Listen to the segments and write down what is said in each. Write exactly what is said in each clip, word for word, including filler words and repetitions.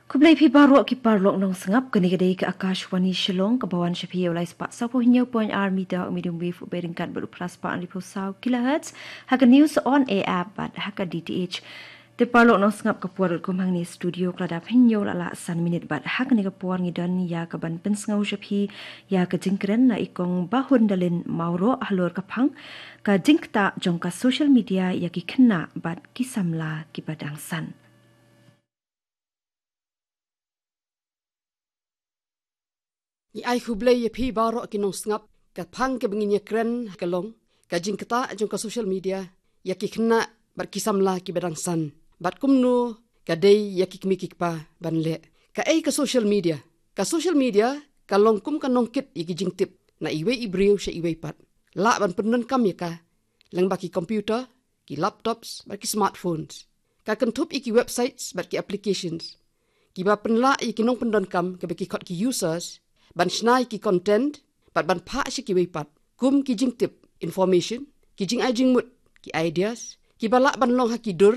Khublei phi baroh ki paralok nongsngap, kane ka dei ka Akashvani Shillong, kaba wan sha phi ïa u lai spah saw phew hynñiew point ar meter, u medium wave u beit ryngkat bad u phra spah hynriew phew saw kilohertz, ha ka News on Air app bad ha ka D T H. Te paralok nongsngap, ka por kum hangne studio ka la dap hynñiew la lah san minit bad ha kane ka por ngi don ïa kaban pynsngew sha phi ïa ka jingkren na i Kong Bahun Dalin Mawroh halor ka phang ka jingktah jong ka social media ïa ki khynnah bad ki samla kiba dang san. Ngi ai khublei ïa phi baroh ki nongsngap, ka phang kaba ngin ïa kren ka long ka jingktah jong ka social media ïa ki khynnah bad ki samla kiba dang san, bad kumno ka dei ïa ki kmie ki kpa ban leh. Kaei ka social media? Ka social media ka long kum ka nongkit ïa ki jingtip na iwei i briew sha iwei pat. Lah ban pyndonkam ïa ka lyngba ki computer, ki laptops bad ki smartphones. Ka kynthup ïa ki websites bad ki applications kiba pynlah ïa ki nongpyndonkam, kaba ki khot ki users, ban shna ïa ki content bad ban phah sha kiwei pat, kum ki jingtip, information, ki jingai jingmut, ki ideas kiba lah ban long ha ki dur,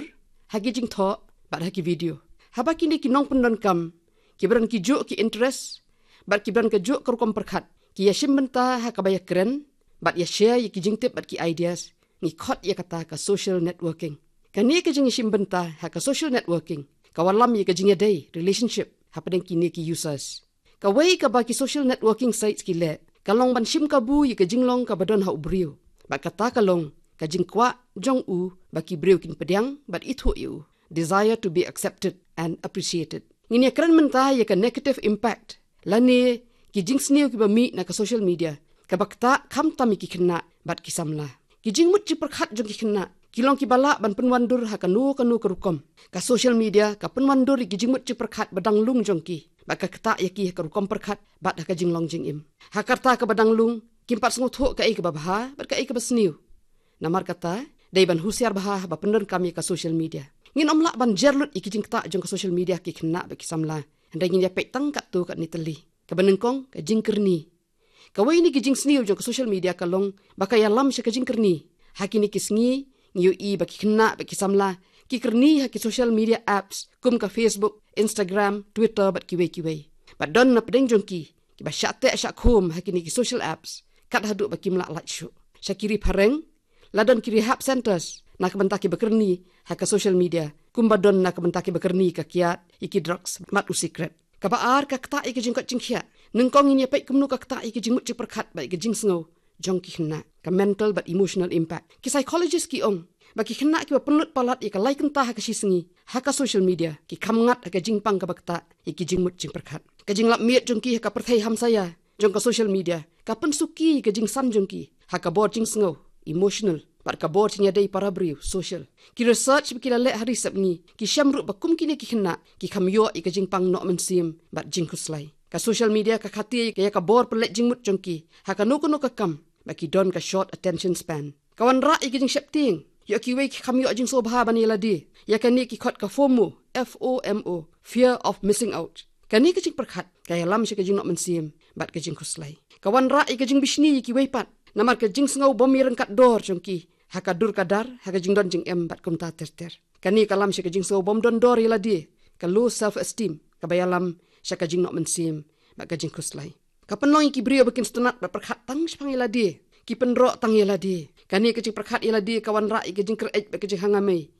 ha ki jingthoh bad ha ki video. Haba kine ki nongpyndonkam kiba don ki juh ki interest bad kiba don ka juh ka rukom pyrkhat ki ïa shim bynta ha kaba ïa kren bad ïa share ïa ki jingtip bad ki ideas, ngi khot ïa kata ka social networking. Kane ka jingïashim bynta ha ka social networking ka wallam ïa ka jingïadei, relationship, hapdeng kine ki users. Kawei kaba ki social networking sites ki leh ka long ban shim kabu ïa ka jinglong kaba don ha u briew, bad kata ka long ka jingkwah jong u ba ki briew kin pdiang bad ithuh ïa u, desire to be accepted and appreciated. Ngin ïa kren mynta ïa ka negative impact lane ki jingsniew kiba mih na ka social media kaba ktah khamtam ïa ki khynnah bad ki samla. Ki jingmut jingpyrkhat jong ki khynnah ki long kiba lah ban pynwandur ha kano kano ka rukom. Ka social media ka pynwandur ïa ki jingmut jingpyrkhat ba dang lung jong ki, bad ka ktah ïa ki ha ka rukom pyrkhat bad ha ka jinglong jingim. Ha ka rta kaba dang lung kim pat sngewthuh kaei kaba bha bad kaei kaba sniew. Namar kata, dei ban husiar bha haba pyndonkam ïa ka social media. Ngin ym lah ban jer lut ïa ki jingktah jong ka social media ha ki khynnah bad ki samla, hynrei ngin ïa peit tang katto katne tylli. Kaba nyngkong, ka jingkyrni. Kawei na ki jingsniew jong ka social media ka long ba ka ïalam sha ka jingkyrni. Ha kine ki sngi ngi ïohi ba ki khynnah bad ki samla ki kyrni ha ki social media apps kum ka Facebook, Instagram, Twitter bad kiwei kiwei. Bad don napdeng jong ki kiba shah teh shah khum ha kine ki social apps kat haduh ba kim lah lait shuh. Sha ki ri phareng la don ki rehab centers na ka bynta kiba kyrni ha ka social media, kumba don na ka bynta kiba kyrni ka kiad ïa ki drugs bad u sikret. Kaba ar, ka ktah ïa ka jingkoit jingkhiah. Nyngkong ngin ïa peit kumno ka ktah ïa ka jingmut jingpyrkhat bad ïa ka jingsngew jong ki khynnah, ka mental bad emotional impact. Ki psychologist ki ong ba ki khynnah kiba pynlut palat ïa ka lai kynta ha ka shisngi ha ka social media ki kham ngat ha ka jingpang kaba ktah ïa ki jingmut jingpyrkhat. Ka jinglap miet jong ki ha ka pyrthei hamsaïa jong ka social media ka pynsuki ïa ka jingsan jong ki ha ka bor jingsngew, emotional, bad ka bor jingïadei para briew, social. Ki research ba ki la leh ha ri sepngi ki shem ruh ba kum kine ki khynnah ki kham ïoh ïa ka jingpang noh mynsiem bad jingkhuslai. Ka social media ka khati ïa ka bor pynleit jingmut jong ki ha kano kano ka kam, ba ki don ka short attention span. Ka wanrah ïa ka jingsheptieng. Ïoh kiwei ki kham ïoh jingsngewbha ban ïa lade. Ïa kane ki khot ka FOMO, F O M O, fear of missing out. Kane ka jingpyrkhat ka ïalam sha ka jingnoh mynsiem bad ka jingkhuslai. Ka wanrah ïa ka jingbishni ïa kiwei pat namar ka jingsngew bym ïaryngkat dor jong ki ha ka dur ka dar, ha ka jingdon jingem bad kumta ter ter. Kane ka lam sha ka jingsngew bym don dor ïa lade, ka low self esteem, kaba ïalam sha ka jingnoh mynsiem bad ka jingkhuslai. Ka pynlong ïa ki briew ba kin sngewtynnat bad pyrkhat tang shaphang ïa lade, ki pynroh tang ïa lade. Kane ka jingpyrkhat ïa lade ka wanrah ïa ka jingkyreit bad ka jinghangamei.